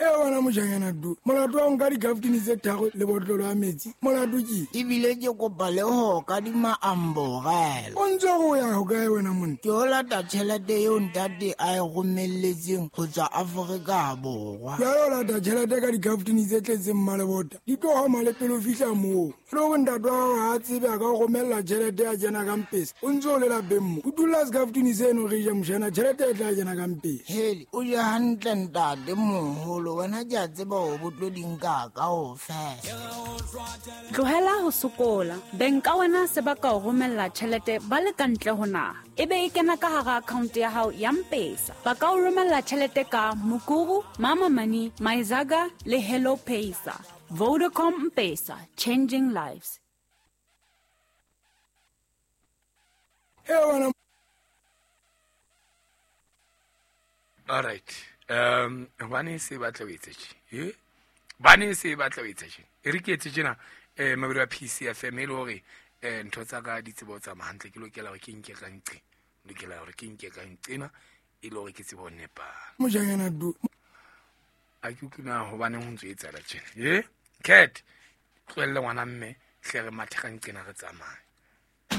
E wena mojanyana du, molato wa nka dikaftini tse tharo le botlolo ya metsi, molato ke? Ebile ke kopa le ho kadima amborela. O ntse go ya ho kae wena monna? Ke o lata tjhelete eo ntate a e romelletseng ho tswa Afrika Borwa. Jwale o lata tjhelete ka dikaftini tse tletseng mmalebota, di tlo homa le pele o fihla moo. E le hore ntate wa hao ha a tsebe a ka o romella tjhelete ya kena ka mpesa, o ntse o le lapeng mo. Utulla sekaftini seno re je moshana, tjhelete e tla kena ka mpesa. Hele, o je hantle ntate moholo, wena ke a tseba hore bo tlo di nka kaofela. Tlohela ho sokola. Beng ka wena se ba ka o romella tjhelete ba le ka ntle ho naha. E be e kena ka hara account ya hao ya Mpesa. Ba ka o romella tjhelete ka Mukuru, Mama Money, Myzaga le Hello Pesa. Vodacom Mpesa, changing lives. E wena. All right. Hobane se batla o etse tje. Eh? Bane se batla o etse tje. E re ke etse tjena mabedi wa PCFM e le hore ntho tsa ka di tsebo tsa hantle, ke lokela hore ke nke ka nqe. Lokela hore ke nke ka nqena e le hore ke tsebo nepa. Mojanyana du. A ke utlwe na hobaneng ho ntso etsahala tjena. Eh? Cat, tlohelle ngwana mme, hle re mathe ka nqena re tsamaye.